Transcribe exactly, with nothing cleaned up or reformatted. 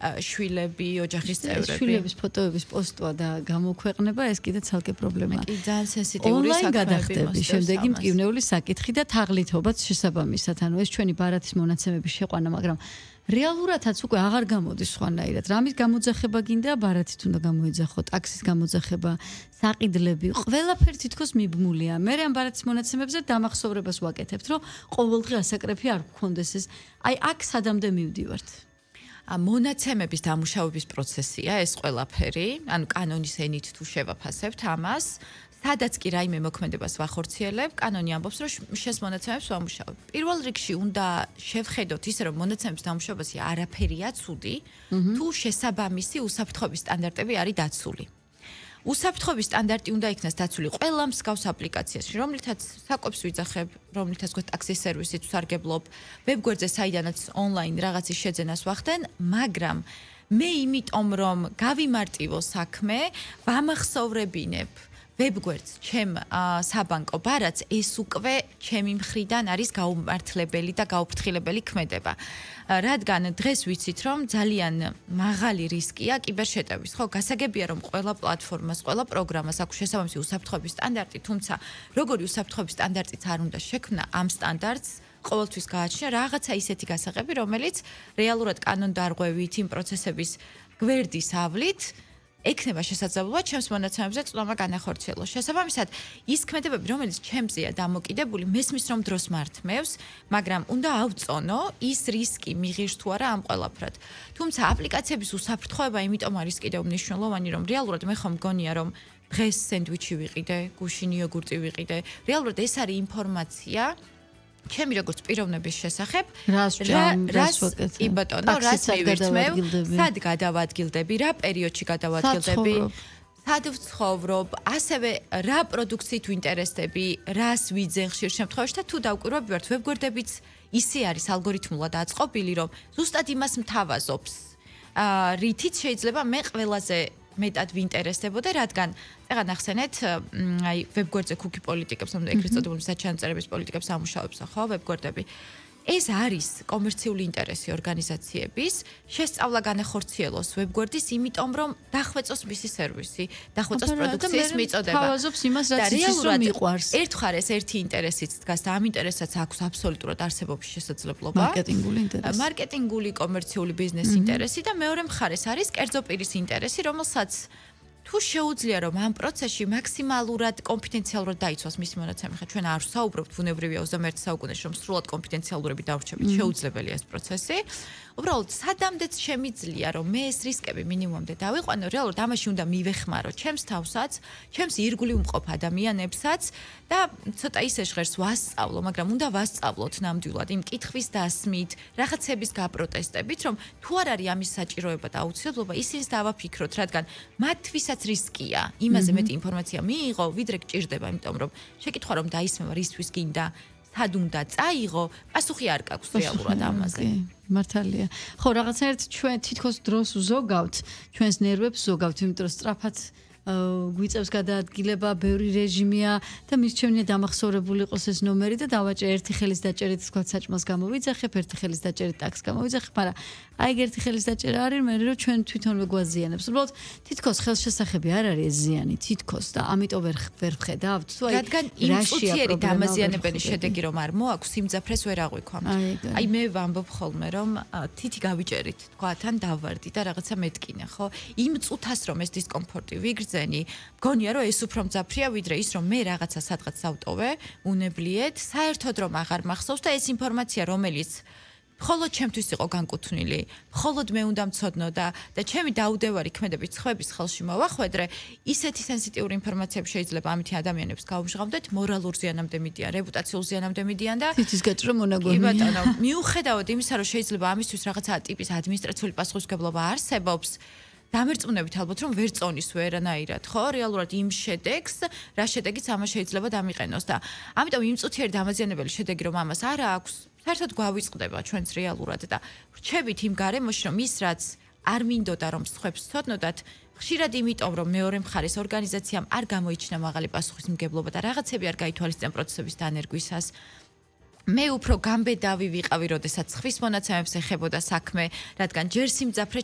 შვილები, ოჯახის წევრები. შვილების ფოტოების პოსტვა და გამოქვეყნება ეს კიდე ცალკე პრობლემაა. კი, ძალიან სენსიტიური საქმეები მოსდევს. შემდეგი მტკივნეული საკითხი და თაღლითობაც შესაბამისად. ანუ ეს ჩვენი ბარათის მონაცემების შეყვანა, მაგრამ რეალურადაც უკვე აღარ გამოდის სხვანაირად. რამის გამოძახება გინდა, ბარათით უნდა გამოეძახო, ტაქსის გამოძახება, საყიდლები, ყველაფერი თითქოს მიბმულია. მე ამ ბარათის მონაცემებზე დამახსოვრებას ვაკეთებთ, რომ ყოველდღე ასაკრეფი არ გქონდეს ეს. აი აქ სადამდე მივდივართ. მონაცემების დამუშავების პროცესია ეს ყველაფერი, ანუ კანონის ენით თუ შევაფასებთ ამას, სადაც კი რაიმე მოქმედებას ვახორციელებ, კანონი ამბობს, რომ შენს მონაცემებს ვამუშავებ. პირველ რიგში უნდა შევხედოთ ისე, რომ მონაცემების დამუშავებაში არაფერია ცუდი, თუ შესაბამისი უსაფრთხოების სტანდარტები არის დაცული. უსაფრთხოების სტანდარტი უნდა იქნას დაცული ყველა მსგავს აპლიკაციაში, რომლითაც საკვებს ვიძახებ, რომლითაც გვაქვს ტაქსის სერვისით ვსარგებლობ, ვებგვერდზე საიდანაც ონლაინ რაღაცის შეძენას ვახდენ, მაგრამ მე იმიტომ რომ გავიმარტივო საქმე, ვამახსოვრებინებ ვებგვერდს ჩემ საბანკო ბარათს ეს უკვე ჩემი მხრიდან არის გაუმართლებელი და გაუფრთხილებელი ქმედება. რადგან დღეს ვიცით რომ ძალიან მაღალი რისკია კიბერშეტევის. ხო, გასაგებია რომ ყველა პლატფორმას, ყველა პროგრამას აქვს შესაბამისი უსაფრთხოების სტანდარტი, თუმცა როგორი უსაფრთხოების სტანდარტიც არ უნდა შექმნა ამ სტანდარტს ყოველთვის გააჩნია რაღაცა ისეთი გასაღები, რომელიც რეალურად კანონდარღვევით, იმ პროცესების გვერდის ავლით ექნება შესაძლებლობა ჩემს მონაცემებზე წვდომა განახორციელოს. შესაბამისად, ის ქმედებები, რომელიც ჩემზეა დამოკიდებული, მესმის რომ დროს მართმევს, მაგრამ უნდა ავწონო ის რისკი მიღირს თუ არა ამ ყველაფრად. თუმცა აპლიკაციების უსაფრთხოება იმიტომ არის კიდევ მნიშვნელოვანი, რომ რეალურად მე ხომ მგონია, რომ დღეს სენდვიჩი ვიყიდე, გუშინ იოგურტი ვიყიდე. რეალურად ეს არის ინფორმაცია ჩემი როგორც პიროვნების შესახებ, რას რას ვაკეთებ? კი ბატონო, რას მივირთმევ, სად გადავადგილდები, რა პერიოდში გადავადგილდები, სად ვცხოვრობ, ასევე რა პროდუქციით ვინტერესდები, რას ვიძენ ხშირ შემთხვევაში და თუ დავკვირვები ვართ, ვებგვერდებიც ისე არის ალგორითმულად აწყობილი, რომ ზუსტად იმას მთავაზობს, რითიც შეიძლება მე ყველაზე მეტად ვინტერესდებოდა, რადგან წეგან ახსენეთ, აი ვებგვერდზე cookie პოლიტიკებს, ანუ ეგრეთ წოდებული საჩანწერების პოლიტიკებს ამუშავებს, ხო, ვებგვერდები. ეს არის კომერციული ინტერესი ორგანიზაციების, შესწავლა განახორციელოს ვებგვერდის, იმიტომ რომ დახვეწოს მისი სერვისი, დახვეწოს პროდუქციის მიწოდება. თავაზობს იმას, რაც იცის რომ მიყვარს. ერთხარეს ერთი ინტერესიც დგას და ამ ინტერესაც აქვს აბსოლუტურად არსებობის შესაძლებლობა. მარკეტინგული ინტერესი. მარკეტინგული კომერციული ბიზნეს ინტერესი და მეორე მხარეს არის კერძო პირის ინტერესი, რომელსაც თუ შეუძლია რომ ამ პროცესში მაქსიმალურად კონფიდენციალურად დაიცვას მისი მონაცემი, ხა ჩვენ არ ვსაუბრობთ ბუნებრივია ოცდამეერთე საუკუნეში რომ სრულად კონფიდენციალურები დავრჩებით, შეუძლებელია ეს პროცესი. უბრალოდ სადამდეც შემიძლია რომ მე ეს რისკები მინიმუმამდე დავიყვანო, რეალურად ამაში უნდა მივეხმარო ჩემს თავსაც, ჩემს ირგვლივ მყოფ ადამიანებსაც და ცოტა ისე ჟღერს ვასწავლო, მაგრამ უნდა ვასწავლოთ ნამდვილად იმ კითხვის დასმით, რაღაცების გაპროტესტებით, რომ თუ არ არის ამის საჭიროება და აუცილებლობა, ისინს დავაფიქროთ, რადგან მათთვისაც რისკია. იმაზე მეტი ინფორმაცია მიიღო, ვიდრე გჭირდება, იმიტომ რომ შეკითხვა რომ დაისმევა რისთვის გინდა, სად უნდა წაიღო, პასუხი არ გაქვს რეალურად ამაზე. მართალია. ხო, რაღაცნაირად ჩვენ თითქოს დროს ვზოგავთ, ჩვენს ნერვებს ვზოგავთ, იმიტომ რომ სწრაფად გვიწევს გადაადგილება, ბევრი რეჟიმია და მის ჩემნია დამახსოვრებული იყოს ეს ნომერი და დავაჭერ ერთი ხელის დაჭერით თქვა საჭმელს გამოვიძახებ, ერთი ხელის დაჭერით ტაქსს გამოვიძახებ, მაგრამ აი ერთი ხელის დაჭერა არის მე რომ ჩვენ თვითონვე გვაზიანებს. უბრალოდ თითქოს ხელშესახები არ არის ეს ზიანი, თითქოს და ამიტომ ვერ ვერ ვხედავთ. თუ აი რადგან იმ წუთიერი დამაზიანებელი შედეგი რომ არ მოაქვს, სიმძაფრეს ვერ აღვიქვამთ. აი მე ვამბობ ხოლმე რომ თითი გავიჭერით, თქვა თან დავარდი და რაღაცა მეტკინა, ხო? იმ წუთას რომ ეს დისკომფორტი ვიგრძენი, მგონია რომ ეს უფრო მძაფრია ვიდრე ის რომ მე რაღაცა სადღაც ავტოვე, უნებლიეთ, საერთოდ რომ აღარ მახსოვს და ეს ინფორმაცია რომელიც მხოლოდ ჩემთვის იყო განკუთვნილი, მხოლოდ მე უნდა მცოდნო და და ჩემი დაუდევარი ქმედებით ხვების ხელში მოვახვედრე, ისეთი სენსიტიური ინფორმაციები შეიძლება ამითი ადამიანებს გაუმჟღავნდეთ, მორალურ ზიანამდე მიდიან, რეპუტაციულ ზიანამდე მიდიან და თითის გაჭრა მონაგონია. კი ბატონო, მიუხედავად იმისა, რომ შეიძლება ამისთვის რაღაცა ტიპის ადმინისტრაციული პასუხისმგებლობა არსებობს, დამერწმუნებით ალბათ რომ ვერ წონის ვერანაირად, ხო? რეალურად იმ შედეგს, რა შედეგიც ამას შეიძლება დამიყენოს და ამიტომ იმ წუთიერი დამაზიანებელი შედეგი რომ ამას არ აქვს, საერთოდ გვავიწყდება ჩვენს რეალურად და ვრჩებით იმ გარემოში რომ ის რაც არ მინდოდა რომ სხვებს ცოდნოდათ, ხშირად იმიტომ რომ მეორე მხარეს ორგანიზაციამ არ გამოიჩინა მაღალი პასუხისმგებლობა და რაღაცები არ გაითვალისწინა პროცესების დანერგვისას. მე უფრო გამბედავი ვიყავი, როდესაც ხვის მონაცემებს ეხებოდა საქმე, რადგან ჯერ სიმძაფრე